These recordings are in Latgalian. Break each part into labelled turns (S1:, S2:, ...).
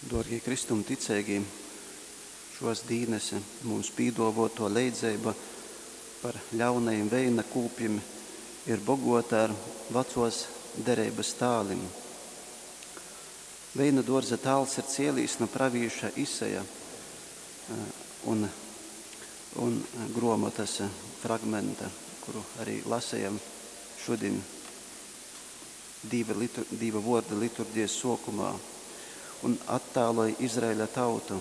S1: Duorgī Kristum ticeigī, šuos dīnys mums pīduovuotuo leidzeiba par ļaunajim veina kūpjim ir boguota ar Vacuos Dereibys tālim. Veina duorza tāls ir cielīs nu pravīša Isaja un, un gruomotys fragmenta, kuru arī lasējam šodien Dīva, litur, Dīva vuorda liturģijas suokumā un attāloj Izraēļa tautu.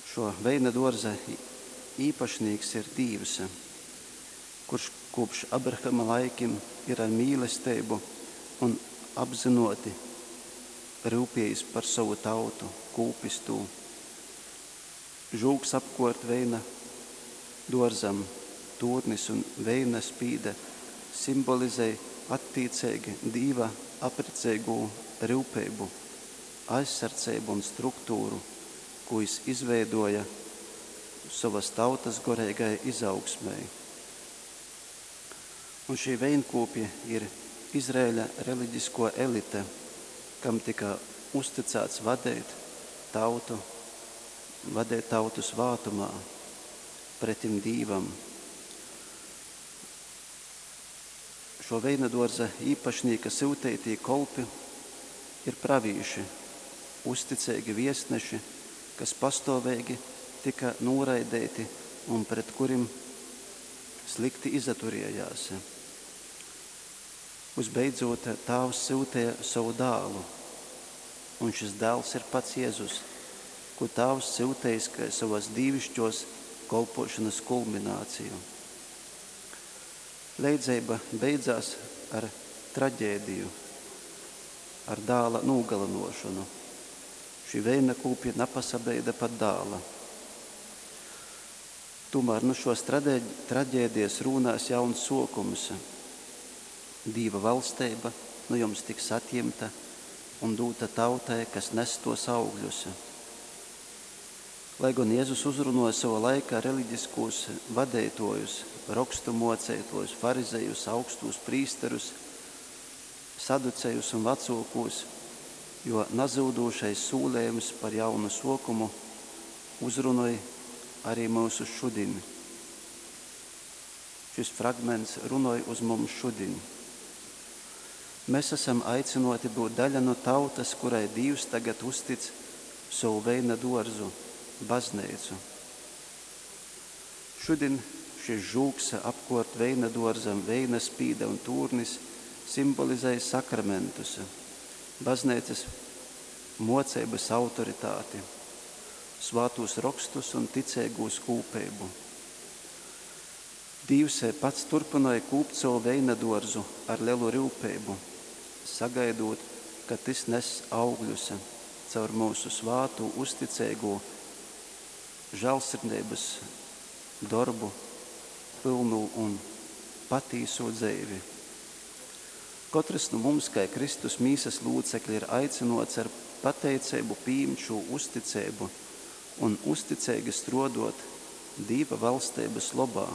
S1: Šo veina duorza īpašnīks ir Dīvs, kurš kopš Abrahama laikim ir ar mīlesteibu un apzinoti ryupiejis par sovu tautu, kūpis tū. Žūgs apkuort veina duorzam, tūrnis un veina spīde simbolizej attīceigi Dīva apriceigū ryupeibu, aizsardzeibu un struktūru, kū jis izveidoja sovas tautas goreigai izaugsmei. Un šī veinkūpji ir Izraēļa reliģisko elite, kam tika uzticēts vadīt tautu, vadīt tautu svātumā, pretim Dīvam. Šo veina duorza īpašnīka syuteitī kolpi ir pravīši, uzticeigi viestneši, kas pastuoveigi tika nūraideiti un pret kurim slikti izaturiejās. Uzbeidzot, tāvs syuteja sovu dālu, un šis dēls ir pats Jēzus, ko tāvs syutejis kai savas dīvišķos kolpošanas kulmināciju. Leidzeiba beidzās ar traģēdiju, ar dāla nūgalinošanu. Šī veina kūpja napasabeida pat dāla. Tomēr nu šos traģēdijas rūnās jauns sokums. Dīva valsteiba nu jums tiks atjimta un dūta tautai, kas nes tos augļus. Lai gan Jēzus uzrunoja sava laika reliģiskos vadeitojus, rokstu moceitojus, farizejus, augstos prīsterus, saducejus un vecākos, jo nazūdošais sūlējums par jaunu sokumu uzrunoja arī mūsu šodien. Šis fragments runoj uz mums šodien. Mēs esam aicinoti būt daļa no tautas, kurai Dievs tagad uztic savu veina dārzu, baznīcu. Šodien šis žūgs apkort veina dārzam, veina spīda un tūrnis simbolizē sakramentus, baznīcas mocības autoritāti, svātos rakstus un ticīgūs kūpību. Dīvs pats turpināja kūpt savu veina dārzu ar lielu rūpību, sagaidot, ka tas nes augļus caur mūsu svātu, uzticīgo žēlsirdības darbu, pilnu un patīso dzīvi. Katrs no mums, kā Kristus mīsas locekļi, ir aicinots ar pateicību pieņemt šo uzticību un uzticīgi strodot Dīva valstības lobā,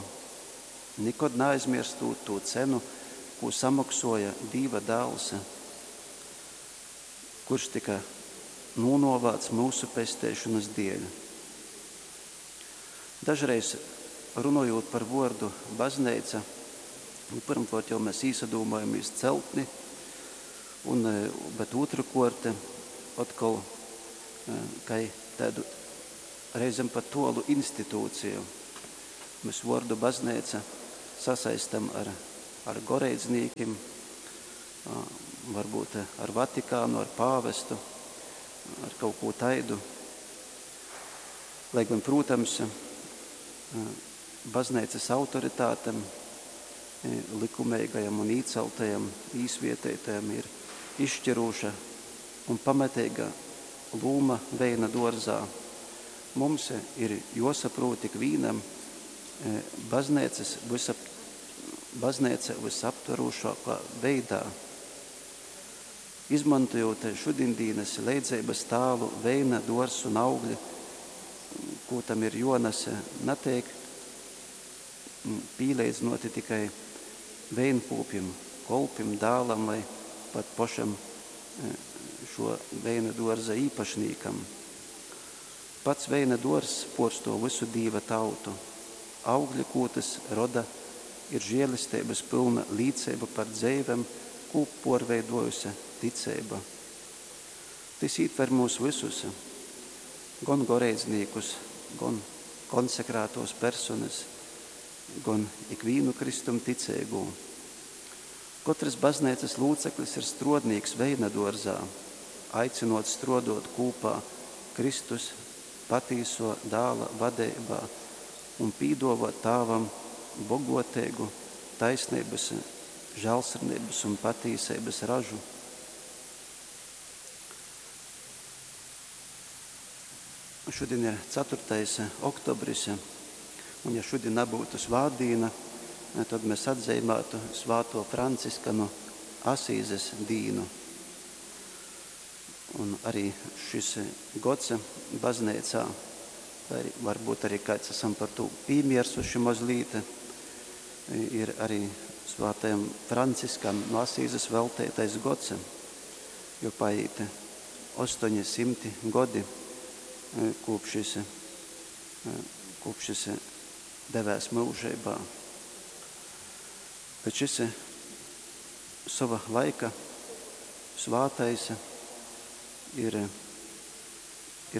S1: nekad neaizmirstot to cenu, ko samaksoja Dīva dēls, kurš tika nūnovāts mūsu pestēšanas dēļ. Dažreiz runājot par vārdu baznīca, nu, pirmkārt jau mēs īsadūmojamies celtni, un, bet otrkārt atkal kai tādu reizēm pat tolu institūciju. Mēs vārdu baznīca sasaistam ar, ar goreidznīkiem, varbūt ar Vatikānu, ar pāvestu, ar kaut ko taidu. Lai gan, protams, baznīcas autoritātem, likumīgajam un īceltajam, īsvietētajam ir izšķiroša un pamatīga lūma veina dārzā. Mums ir jāsaprot ik vienam baznīcas visap, baznīca visaptverošākā veidā. Izmantojot šodienas leidzības tālu, veina, dors un augļi, ko tam ir jonas, netiek pīleidzinoti tikai veinkūpim, kolpim, dālam vai pat pašam šo veina duorza īpašnīkam. Pats veina duorzs puorstuov vysu Dīva tautu. Augļi, kū tys roda, ir žielesteibys pylna līceiba par dzeivem, kū puorveiduojuse ticeiba. Tys ītver myus vysus, gon goreidznīkus, gon konsekrātuos personys, gon ikvīnu Kristum ticeigū. Kotrys bazneicys lūceklis ir struodnīks veina duorzā, aicynuots struoduot kūpā Kristus patīsuo Dāla vadeibā un pīduovuot Tāvam boguoteigu taisneibys, žālsirdeibys un patīseibys ražu. Šodien ir 4. oktobris, un ja šodien nebūtu svātdīna, tad mēs atzīmētu svāto Franciska no Asīzes dīnu. Un arī šis gods baznīcā, vai varbūt arī kāds esam par to pīmiersuši mazlīt, ir arī svātajam Franciskam no Asīzes veltētais gods, jo paiet 800 godi kopš šis devēs mūžībā. Bet šis sava laika svātais ir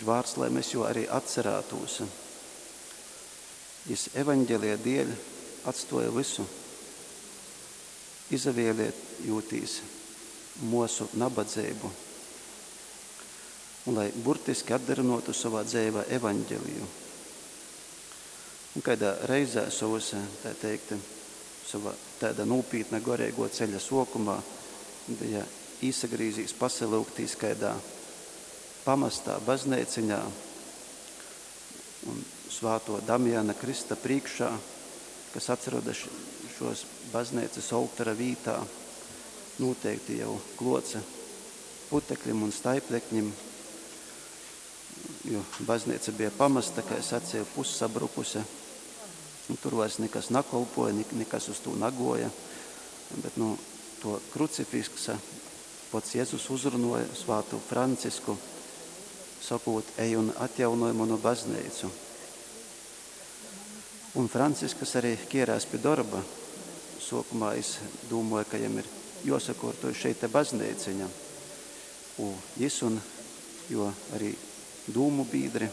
S1: vārds, lai mēs jo arī atcerētos. Jis evaņģēlija dēļ atstoja visu, izavēlējotīs mūsu nabadzību, un lai burtiski atdarinotu savā dzīvē evaņģēliju. Un kādā reizē savus, tā teikt, sava tāda nopietna garīgo ceļa sokumā bija īsagrīzīs pasalūgtīs kādā pamestā baznīciņā un svāto Damjana Krista priekšā, kas atrodas šos baznīcas oltora vītā, noteikti jau kloce putekļim un staiplekņim, jo baznīca bija pamesta, kā es sacīju, pussabrukuse, un tur vairs nekas nakolpoja, nekas uz to nagoja, bet to krucifiksa pats Jēzus uzrunoja svātu Francisku, sakot, ej un atjaunoj manu baznīcu. Un Franciskas arī ķierās pie darba. Sokumā es domāju, ka jam ir jāsakārto šeit te baznīciņa. Un jis un jo arī dūmu biedri,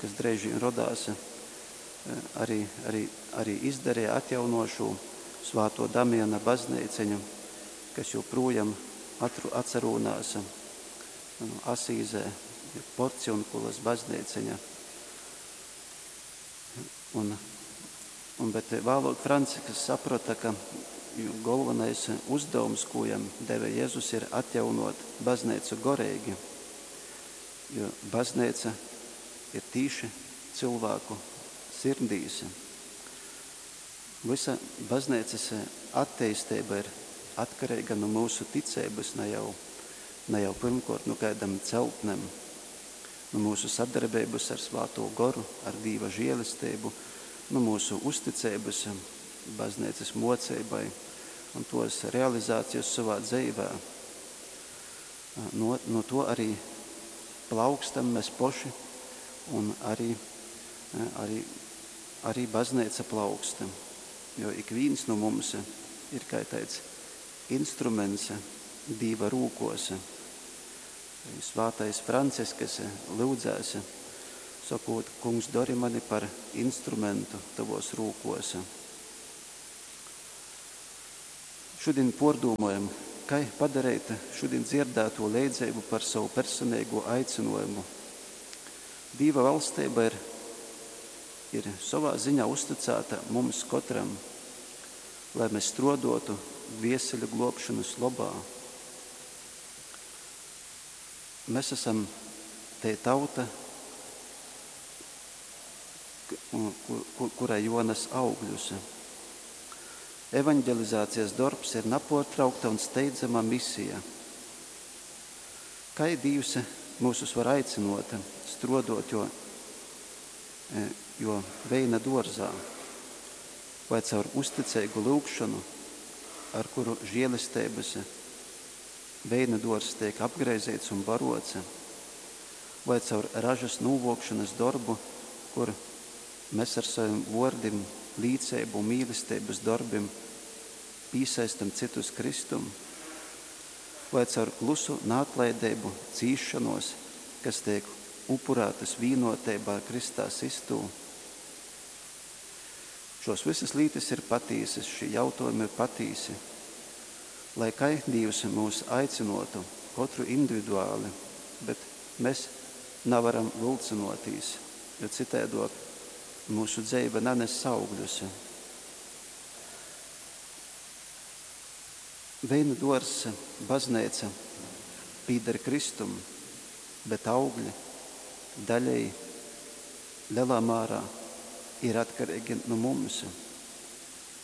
S1: kas dreiži rodās, arī izdarīja atjaunošu svāto Damiana baznīciņu, kas joprojām atcerūnās Asīzē, Porciunkulas baznīciņa. Bet vēlāk Francisks saprata, ka galvenais uzdevums, ko jam deva Jēzus, ir atjaunot baznīcu gorīgi, jo baznīca ir tīši cilvēku sirdīs. Visa baznīcas attīstība ir atkarīga no mūsu ticības, ne jau pirmkārt no kādam celtnēm, no mūsu sadarbības ar Svāto Goru, ar Dieva žēlastību, no mūsu uzticības baznīcas mocībai un tos realizācijas savā dzīvē. No to arī plaukstam mēs poši un arī baznīca plauksta, jo ik viens no mums ir, kā teica, instruments Dieva rūkos. Svātais Franciskas lūdzēs, sakot, Kungs, dari mani par instrumentu tavos rūkos. Šodien pārdomājam, kā padarīt šodien dzirdēto līdzību par savu personīgo aicinājumu. Dieva valstība ir savā ziņā uzticēta mums katram, lai mēs strodotu dvieseļu globšanas labā. Mēs esam te tauta, kurai Jonas augļus. Evanģelizācijas darbs ir nepārtraukta un steidzama misija. Kā Dievs mūsus var aicinot, strodot, jo veina dārzā, vai caur uzticīgu lūgšanu, ar kuru žēlestības veina duorzs teik apgraizeits un baruots, voi caur ražys nūvuokšonys dorbu, kur mes ar sovim vuordim, līceibu un mīlesteibys dorbim pīsaistam cytus Kristum, voi caur klusu naatlaideibu, cīsšonuos, kas teik upurātys vīnuoteibā ar krystā systū. Šuos vysys lītys ir patīsys, šī jautuojumi ir patīsi. Lai kai Dīvs myus aicynuotu, kotru individuali, bet mes navaram vylcynuotīs, jo cytaiduok myusu dzeive naness augļus. Veina duorzs, bazneica pīder Kristum, bet augļi daļēji, lelā mārā ir atkareigi nu mums,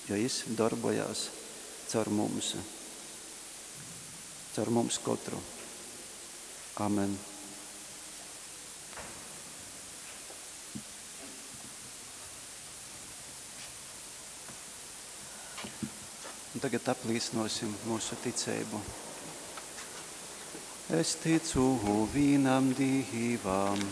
S1: jo Jis dorbojās caur mums, caur mums kotru. Amen. Un tagad aplīcinosim mūsu ticeibu. Es ticu vīnam Dīvam.